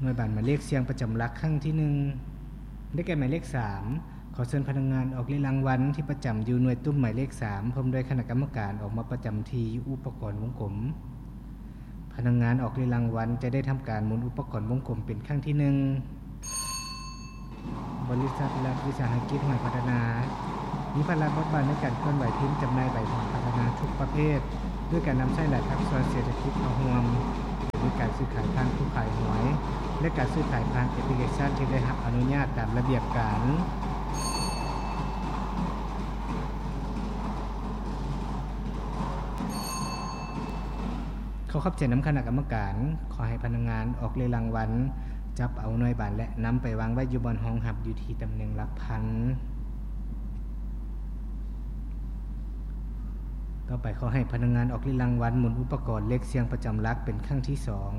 ໜ່ວຍບານໝາຍເລກສ່ຽງປະຈຳຫຼັກຄັ້ງທີໜຶ່ງ ໄດ້ແກ່ໝາຍເລກສາມ. ຂໍເຊີນພະນັກງານອອກເລກລາງວັນທີ່ປະຈຳຢູ່ໜ່ວຍຕຸ້ມໝາຍເລກສາມ ພ້ອມດ້ວຍຄະນະກຳມະການອອກມາປະຈຳທີ່ຢູ່ອຸປະກອນວົງກົມ. ພະນັກງານອອກເລກລາງວັນຈະໄດ້ທຳການໝູນອຸປະກອນວົງກົມເປັນຄັ້ງທີໜຶ່ງ. ບໍລິສັດລັດວິສາຫະກິດຫວຍພັດທະນາ ມີພາລະບົດບາດໃນການເຄື່ອນໄຫວພິມຈຳໜ່າຍໃບຫວຍພັດທະນາທຸກປະເພດ ດ້ວຍການນຳໃຊ້ຫຼາຍພາກສ່ວນເສດຖະກິດເຂົ້າຮ່ວມ ໂດຍການຊື້ຂາຍຜ່ານຜູ້ຂາຍຫວຍ ແລະ ການຊື້ຂາຍຜ່ານແອັບພລິເຄຊັນທີ່ໄດ້ຮັບອະນຸຍາດຕາມລະບຽບການ. ຂໍຂອບໃຈນຳຄະນະກຳມະການ. ຂໍໃຫ້ພະນັກງານອອກເລກລາງວັນ ຈັບເອົາໜ່ວຍບານ ແລະ ນຳໄປວາງໄວ້ຢູ່ບ່ອນຮອງຮັບຢູ່ທີ່ຕຳແໜ່ງຫຼັກພັນ. ຕໍ່ໄປ, ຂໍໃຫ້ພະນັກງານອອກເລກລາງວັນໝູນອຸປະກອນເລກສ່ຽງປະຈຳຫຼັກເປັນຄັ້ງທີສອງ.